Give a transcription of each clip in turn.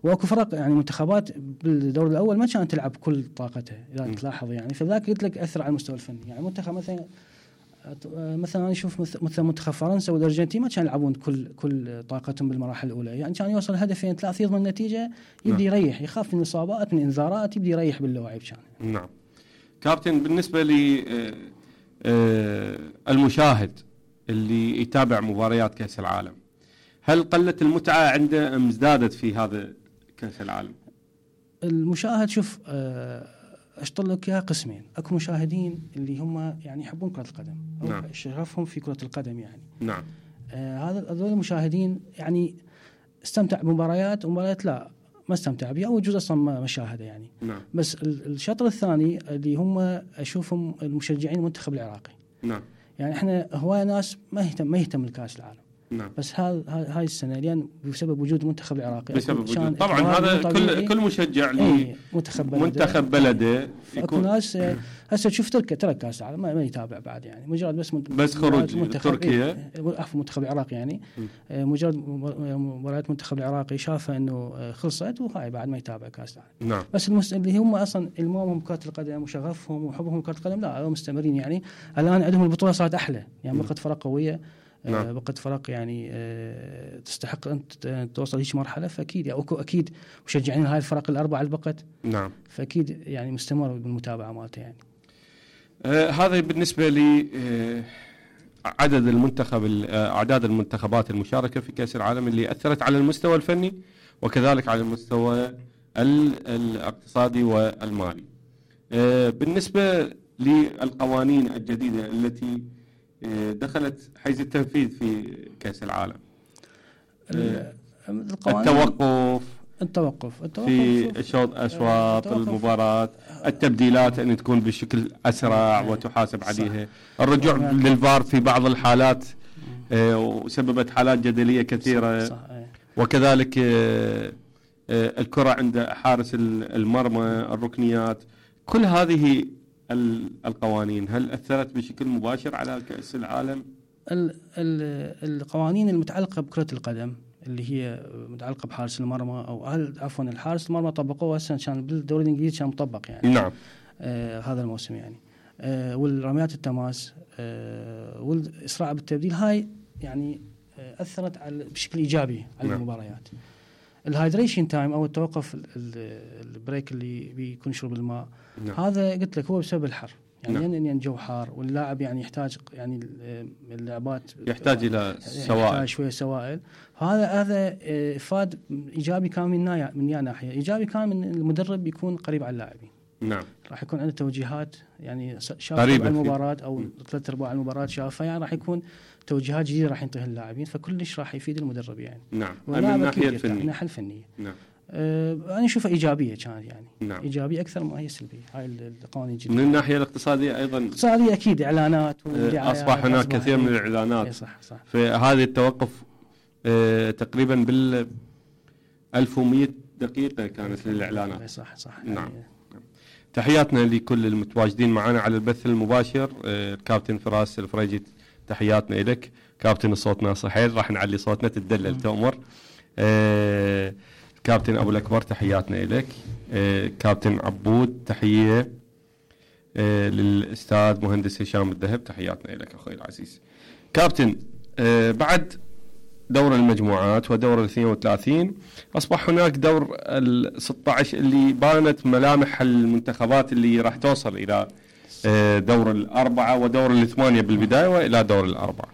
واكو فرق يعني منتخبات بالدور الاول ما كانت تلعب كل طاقتها اذا تلاحظ يعني، فذاك قلت لك اثر على المستوى الفني. يعني منتخب مثلا انا اشوف مثل منتخب فرنسا والارجنتين ما كانوا يلعبون كل طاقتهم بالمراحل الاولى، يعني كان يوصل هدفين ثلاث يضمن النتيجه يبدي يريح، يخاف من الاصابات من انذارات يبدي يريح باللاعب كان. نعم كابتن، بالنسبه لي المشاهد اللي يتابع مباريات كأس العالم، هل قلت المتعة عنده أم ازدادت في هذا كأس العالم؟ المشاهد شوف اشطر لك اياها قسمين. اكو مشاهدين اللي هم يعني يحبون كرة القدم او نعم. شغفهم في كرة القدم يعني. نعم. هذول المشاهدين يعني استمتع بمباريات ومباريات لا ما استمتع بها او جزء اصلا ما شاهده يعني. نعم. بس الشطر الثاني اللي هم اشوفهم المشجعين المنتخب العراقي. نعم. يعني احنا هواي ناس ما يهتم الكاس العالم. نعم. بس هاي السنه لان بسبب وجود المنتخب العراقي بسبب وجود طبعا هذا كل مشجع منتخب بلده يكون ناس هسه تشوف ترك كاس العالم ما يتابع بعد يعني مجرد بس خروج تركيا عفوا المنتخب العراقي يعني مجرد مباريات المنتخب العراقي شافه انه خلصت وهاي بعد ما يتابع كاس العالم. نعم. بس اللي هم اصلا المهم كرة القدم وشغفهم وحبهم لكرة القدم لا هم مستمرين يعني. الان عندهم البطوله صارت احلى يعني بقت فرق قويه. نعم. بقت فرق يعني تستحق أن توصل هيك مرحلة، فأكيد يعني أكيد مشجعين هاي الفرق الأربعة اللي بقت. نعم. فأكيد يعني مستمر بالمتابعة مالته يعني. هذا بالنسبة لي أعداد المنتخبات المشاركة في كأس العالم اللي أثرت على المستوى الفني وكذلك على المستوى الاقتصادي والمالي. بالنسبة للقوانين الجديدة التي دخلت حيز التنفيذ في كأس العالم، التوقف في أشواط المباراة، التبديلات أن تكون بشكل أسرع وتحاسب عليها، الرجوع للفار في بعض الحالات وسببت حالات جدلية كثيرة، وكذلك الكرة عند حارس المرمى، الركنيات، كل هذه القوانين هل أثرت بشكل مباشر على كأس العالم؟ القوانين المتعلقة بكرة القدم اللي هي متعلقة بحارس المرمى أو عفوا الحارس المرمى طبقوه هسه كان بالدوري الإنجليزي كان مطبق يعني. نعم. هذا الموسم يعني والرميات التماس والإسراع بالتبديل هاي يعني أثرت بشكل إيجابي على نعم. المباريات. الهايدريشن تايم أو التوقف البريك اللي بيكون شرب الماء. نعم. هذا قلت لك هو بسبب الحر يعني. نعم. لأن الجو حار واللاعب يعني يحتاج يعني اللاعبات يحتاج إلى سوائل، يحتاج شوية سوائل. هذا إفاد إيجابي كان من ناحية إيجابي كان من المدرب يكون قريب على اللاعبين. نعم. راح يكون عنده توجيهات يعني شاف المباراة أو 3/4 المباراة شافها يعني راح يكون توجيهات جديدة راح ينطيها اللاعبين، فكلش راح يفيد المدرب يعني. نعم. من الناحية الفنية. نعم. أنا أشوفها إيجابية كانت يعني. نعم. إيجابية أكثر ما هي سلبية هاي القوانين جدا. من الناحية الاقتصادية أيضا. اقتصادية أكيد إعلانات أصبح هناك كثير من الإعلانات. صح. فهذا التوقف تقريبا 1100 دقيقة كانت للإعلانات. صح. نعم. يعني. تحياتنا لكل المتواجدين معنا على البث المباشر. الكابتن فراس الفريجي تحياتنا إليك. كابتن الصوت ناصر حيل راح نعلي صوتنا تدلل تأمر. كابتن أبو الأكبر تحياتنا إليك. كابتن عبود تحية للأستاذ مهندس هشام الذهب تحياتنا إليك أخوي العزيز. كابتن بعد دور المجموعات ودور 32 أصبح هناك دور 16 اللي بانت ملامح المنتخبات اللي راح توصل إلى دور 4 ودور 8 بالبداية وإلى دور 4.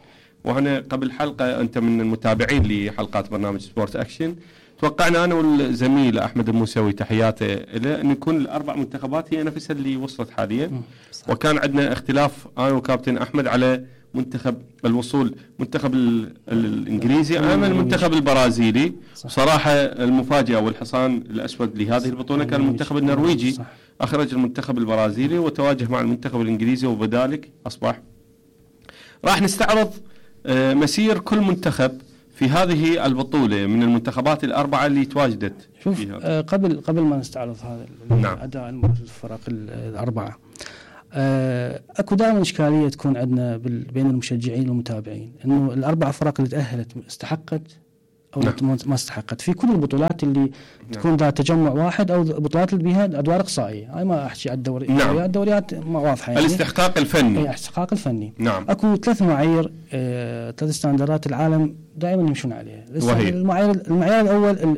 وهنا قبل حلقة أنت من المتابعين لحلقات برنامج سبورت أكشن توقعنا أنا والزميل أحمد الموسوي تحياته إلى أن يكون الأربع منتخبات هي نفسها اللي وصلت حاليا. وكان عندنا اختلاف أنا وكابتن أحمد على منتخب الوصول، منتخب الإنجليزي أمام المنتخب البرازيلي. صراحة المفاجأة والحصان الأسود لهذه البطولة كان المنتخب النرويجي. أخرج المنتخب البرازيلي وتواجه مع المنتخب الإنجليزي، وبذلك أصبح راح نستعرض مسير كل منتخب في هذه البطولة من المنتخبات الأربعة اللي تواجدت. شوف قبل ما نستعرض هذا نعم. أداء الفرق الأربعة أكو دائما إشكالية تكون عندنا بين المشجعين والمتابعين إنه الأربع فرق اللي تأهلت استحقت او نعم. ما استحقت في كل البطولات اللي تكون ذات تجمع واحد او البطولات اللي بها ادوار اقصائيه. هاي ما احكي على الدوريات ما واضحه يعني. الاستحقاق الفني. اي الاستحقاق الفني. نعم. اكو 3 معايير 3 ستاندردات العالم دائما يمشون عليها. المعيار الاول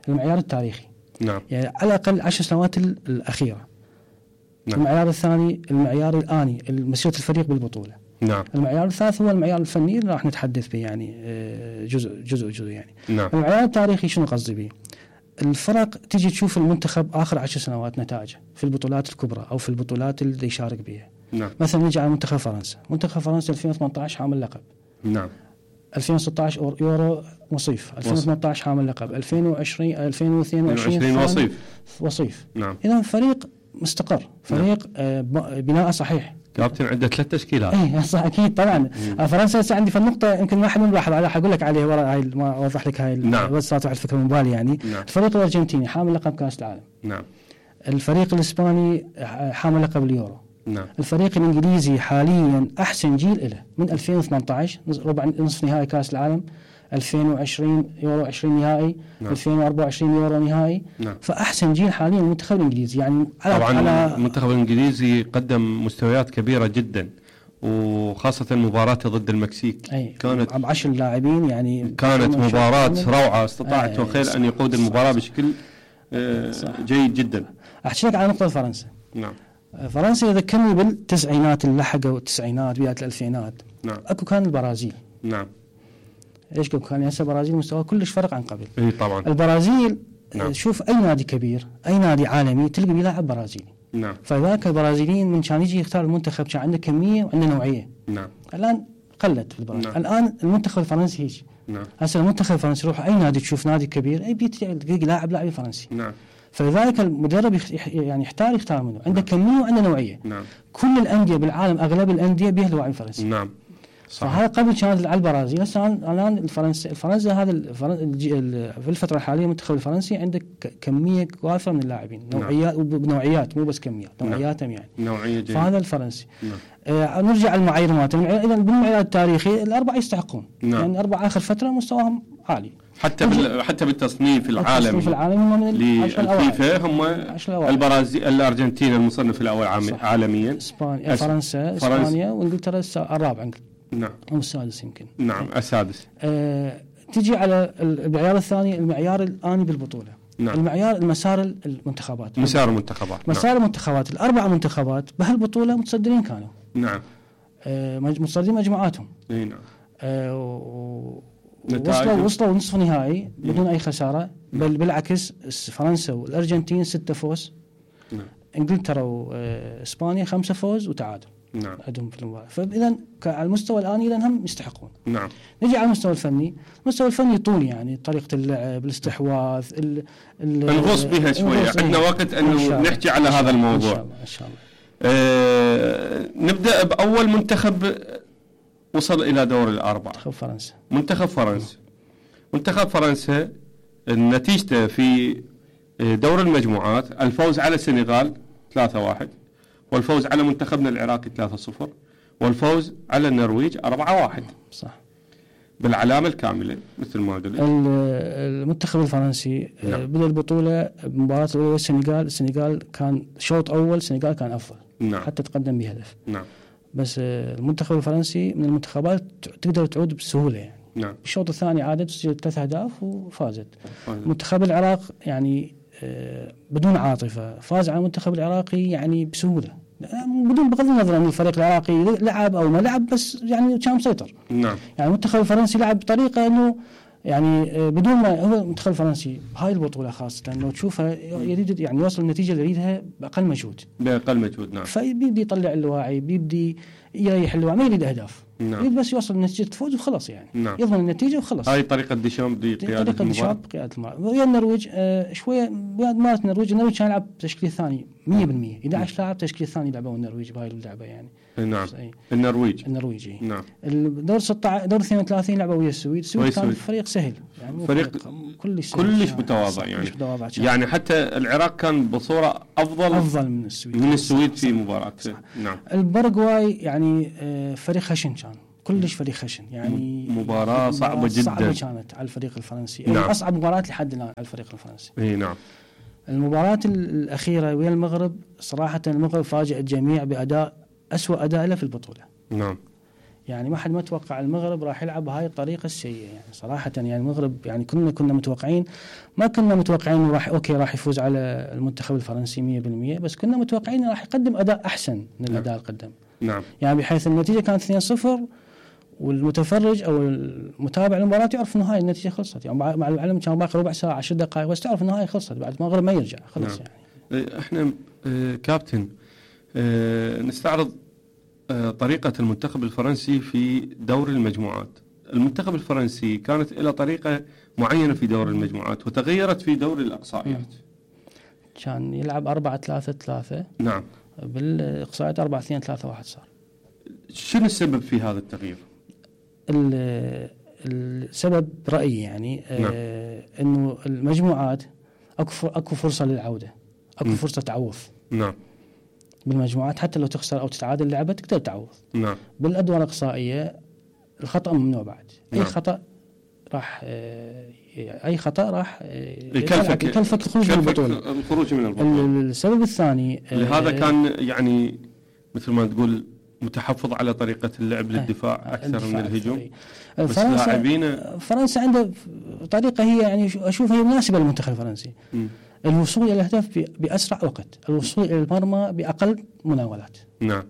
المعيار التاريخي. نعم. يعني على الاقل 10 سنوات الاخيره. نعم. المعيار الثاني المعيار الآني مسيرة الفريق بالبطولة. نعم. المعيار الثالث هو المعيار الفني اللي راح نتحدث به يعني جزء يعني. نعم. المعيار التاريخي شنو قصدي به؟ الفرق تيجي تشوف المنتخب آخر 10 سنوات نتائجه في البطولات الكبرى أو في البطولات اللي يشارك بها. نعم. مثلا نجي على منتخب فرنسا. منتخب فرنسا 2018 حامل لقب. نعم. 2016 يورو وصيف. 2018 حامل لقب. 2022 وصيف. نعم. إذا فريق مستقر، فريق بناء صحيح. كابتن عنده 3 تشكيلات. اي صح اكيد طبعا. فرنسا هسه عندي في النقطه يمكن ما حد ملاحظ عليها، حقول لك عليها ورا هاي ما اوضح لك هاي. نعم. بس صارت واحد فكره من بالي يعني. نعم. الفريق الارجنتيني حامل لقب كاس العالم. نعم. الفريق الاسباني حامل لقب اليورو. نعم. الفريق الانجليزي حاليا احسن جيل له من 2018 ربع نصف نهائي كاس العالم، 2020 يورو 20 نهائي. نعم. 2024 يورو نهائي. نعم. فاحسن جيل حاليا المنتخب الانجليزي يعني. طبعا المنتخب الانجليزي قدم مستويات كبيره جدا، وخاصه مباراته ضد المكسيك كانت ب 10 لاعبين يعني. كانت مباراه روعه، استطاع توخيل ان يقود المباراه بشكل جيد جدا. احكي لك على نقطه فرنسا. نعم. فرنسا يذكرني بالتسعينات اللي لحقوا التسعينات بدايه الالفينات. نعم. اكو كان البرازيل. نعم. ايش كان هسه البرازيل مستوى كلش فرق عن قبل. اي طبعا. البرازيل. نعم. شوف اي نادي كبير اي نادي عالمي تلقى بيلاعب برازيلي. نعم. فذاك البرازيليين من كان يجي يختار المنتخب كان عنده كميه وعنده نوعيه. نعم. الان قلت في البرازيل. نعم. الان المنتخب الفرنسي هيك. نعم. هسه المنتخب الفرنسي يروح اي نادي تشوف نادي كبير اي بيتلاقي لاعب فرنسي. نعم. فلذلك المدرب يعني يختار منه عنده كميه وعنده نوعيه. نعم. كل الانديه بالعالم اغلب الانديه بها لاعب فرنسي. نعم. فهذا قبل كانت على البرازيل. هسه الان الفرنسا هذا في الفتره الحاليه المنتخب الفرنسي عنده كميه وافره من اللاعبين. نوعيات مو بس كميات. نوعياتهم يعني نوعيه جيده. فهذا الفرنسي. نعم. نرجع المعايير مالتهم. اذا بالمعيار التاريخي الاربعه يستحقون. نعم. يعني الاربعه اخر فتره مستواهم عالي. حتى بالتصنيف العالمي هم من للفيفا هم البرازيل الارجنتين المصنف الاول عالميا. اسبانيا فرنسا اسبانيا وانجلترا الرابع. نعم. او السادس يمكن. نعم السادس. تجي على المعيار الثاني المعيار الآني بالبطولة. نعم. المسار المنتخبات. مسار المنتخبات الأربع منتخبات بهالبطولة متصدرين كانوا. نعم. متصدرين مجموعاتهم. اي نعم. وصلوا نصف نهائي بدون أي خسارة. بل بالعكس فرنسا والأرجنتين 6 فوز. نعم. انجلترا واسبانيا 5 فوز وتعادل. نعم. عندهم في المباراة. فإذا على المستوى الآني إذا هم يستحقون. نعم. نجي على المستوى الفني. المستوى الفني طول يعني طريقة اللعب الاستحواذ الغوص بها شوية. عندنا وقت أنه نحكي على هذا الموضوع إن شاء الله. نبدأ بأول منتخب وصل إلى دور الأربعة. منتخب فرنسا نتيجته في دور المجموعات الفوز على السنغال 3-1 والفوز على منتخبنا العراقي 3-0 والفوز على النرويج 4-1. صح. بالعلامة الكاملة مثل ما قلت. المنتخب الفرنسي بدأ البطولة بمباراة الأولى السنغال كان شوط أول السنغال كان أفضل. نعم. حتى تقدم بهدف. نعم. بس المنتخب الفرنسي من المنتخبات تقدر تعود بسهولة يعني. نعم. الشوط الثاني عادت سجلت 3 أهداف وفازت. منتخب العراق يعني بدون عاطفة فاز على المنتخب العراقي يعني بسهولة بدون بغض النظر أن الفريق العراقي لعب أو ما لعب بس يعني كان مسيطر. نعم. يعني المنتخب الفرنسي لعب بطريقة أنه يعني بدون ما هو المنتخب الفرنسي هاي البطولة خاصة لو تشوفها يريد يعني يوصل النتيجة اللي يريدها بأقل مجهود. نعم. فبيبدي يطلع الواعي بيبدي يريح الواعي ما يريد أهداف. نعم. يريد بس يوصل النتيجة تفوز وخلص يعني. نعم. يضمن النتيجة وخلص. هاي طريقة ديشامب بقيادة المباراة. ويا النرويج شوية مالت النرويج كان يلعب تشكيل ثاني 100%. 11 لاعب تشكيل ثاني لعبوا النرويج بهاي اللعبة يعني. نعم. النرويج. نعم. الدور 16 دور 32 لعبوا ويا السويد كان فريق سهل يعني فريق كلش متواضع يعني حتى العراق كان بصورة أفضل من السويد في مباراة. نعم. البرغواي يعني فريق خشن كان كلش فريق خشن يعني. مباراة صعبة جدا. صعبة كانت على الفريق الفرنسي. نعم. أصعب مباراة لحد الآن على الفريق الفرنسي. اي نعم. المباراة الأخيرة ويا المغرب صراحة المغرب فاجأ الجميع بأداء أسوأ أداء له في البطولة. نعم. يعني ما حد ما توقع المغرب راح يلعب بهاي الطريقة السيئة يعني صراحة. يعني المغرب يعني كنا متوقعين، ما كنا متوقعين إنه راح يفوز على المنتخب الفرنسي 100%، بس كنا متوقعين إنه راح يقدم أداء أحسن من الأداء اللي قدم. نعم. يعني بحيث النتيجة كانت 2-0 والمتفرج أو المتابع المباراة يعرف إنه هاي النتيجة خلصت، يعني مع العلم كان باقي ربع ساعة 10 دقائق بس تعرف إنه هاي خلصت بعد المغرب ما يرجع خلص. نعم. يعني احنا كابتن نستعرض طريقة المنتخب الفرنسي في دور المجموعات. المنتخب الفرنسي كانت له طريقة معينة في دور المجموعات وتغيرت في دور الأقصائيات. كان يلعب 4-3-3. نعم. بالإقصائيات 4-2-3-1 صار. شنو السبب في هذا التغيير؟ السبب رأيي يعني نعم. إنه المجموعات أكو فرصة للعودة، أكو فرصة تعوض. نعم. بالمجموعات حتى لو تخسر أو تتعادل لعبة تقدر تعوض. نعم. بالأدوار الإقصائية الخطأ ممنوع بعد. نعم. أي خطأ راح يكلفك الخروج من البطولة. السبب الثاني لهذا كان يعني مثل ما تقول متحفظ على طريقة اللعب للدفاع أكثر من الهجوم. بس فرنسا عنده طريقة هي يعني أشوفها هي مناسبة للمنتخب الفرنسي. الوصول إلى الهدف بأسرع وقت، الوصول إلى المرمى بأقل مناولات. نعم.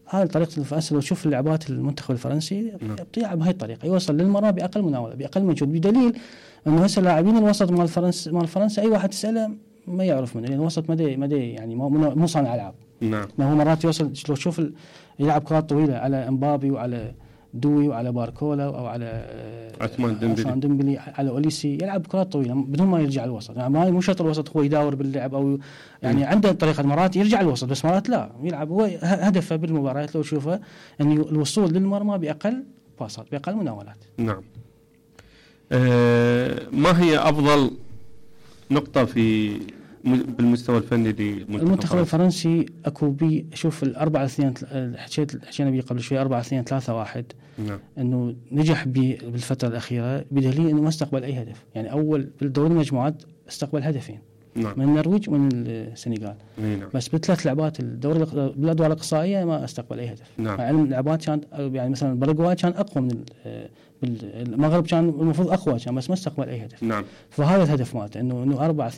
هذه طريقة الفرنسي. لو تشوف اللعبات المنتخب الفرنسي يلعب بهاي الطريقة، يوصل للمرمى بأقل مناولة بأقل مجهود، بدليل إنه هسه لاعبين الوسط مال فرنسا أي واحد تسأله ما يعرف منه، لأن الوسط مدى يعني مو صانع ألعاب. نعم. ما هو مرات يوصل لو تشوف يلعب كرات طويلة على امبابي وعلى دوي وعلى باركولا أو على عثمان ديمبلي على أوليسي، يلعب كرات طويلة بدون ما يرجع الوسط. يعني ما مو شرط الوسط هو يداور باللعب أو يعني عنده طريقة، مرات يرجع الوسط بس مرات لا يلعب. هو هدفه بالمباريات لو تشوفه أن الوصول للمرمى بأقل باصات بأقل مناولات. نعم. ما هي أفضل نقطة بالمستوى الفني للمنتخب الفرنسي؟ اكو شوف ال4-2 حكينا بيه قبل شوي 4-2-3-1. نعم. انه نجح بالفتره الاخيره بدليل انه ما استقبل اي هدف. يعني اول بالدور المجموعات استقبل هدفين. نعم. من النرويج ومن السنغال. نعم. بس بالثلاث لعبات بالادوار الاقصائيه ما استقبل اي هدف. نعم. مع ان اللعبات كان يعني مثلا الباراغواي كان اقوى من المغرب، كان المفروض اقوى كان بس ما استقبل اي هدف. نعم. فهذا الهدف مالته انه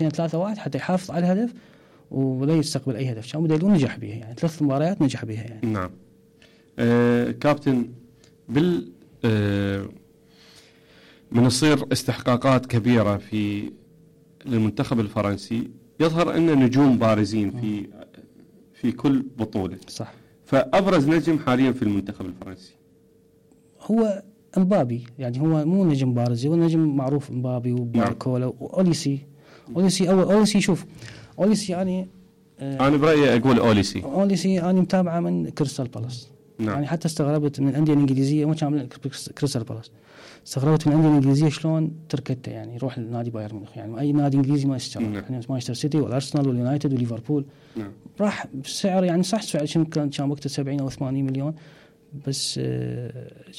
4-2-3-1 حتى يحافظ على الهدف ولا يستقبل اي هدف، كان بدليل نجح بها يعني 3 مباريات نجح بها يعني. نعم. كابتن من يصير استحقاقات كبيرة للمنتخب الفرنسي، يظهر أن نجوم بارزين في كل بطولة. صح. فأبرز نجم حاليا في المنتخب الفرنسي هو امبابي، يعني هو مو نجم بارز، هو نجم معروف امبابي وباركولا وأوليسي. أوليسي شوف أوليسي يعني أنا برأيي أقول أوليسي أنا متابعة من كريستال بالاس. نعم. يعني حتى استغربت من الأندية الإنجليزية، ما كان من كريستال بالاس، استغربت من الأندية الإنجليزية شلون تركته يعني يروح لنادي بايرن ميونخ. يعني أي نادي إنجليزي ما يشتري. نعم. يعني مانشستر سيتي والأرسنال واليونايتد وليفربول. نعم. راح بسعر يعني صح سعر كان وقته 70 أو 80 مليون، بس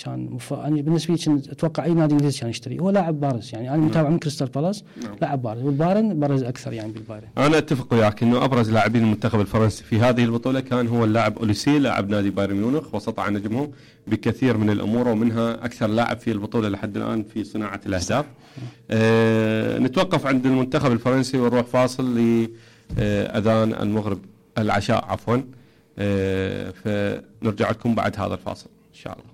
كان أنا بالنسبة لي أتوقع أي نادي إنجليزي كان يشتري. هو لاعب بارز يعني، أنا متابع من كريستال بالاس. لاعب بارز، والبايرن برز أكثر يعني بالبايرن. أنا أتفق وياك إنه أبرز لاعبين المنتخب الفرنسي في هذه البطولة كان هو اللاعب أوليسي لاعب نادي بايرن ميونخ، وسطع نجمهم بكثير من الأمور، ومنها أكثر لاعب في البطولة لحد الآن في صناعة الأهداف. نتوقف عند المنتخب الفرنسي ونروح فاصل لأذان المغرب العشاء عفوا. فنرجع لكم بعد هذا الفاصل إن شاء الله.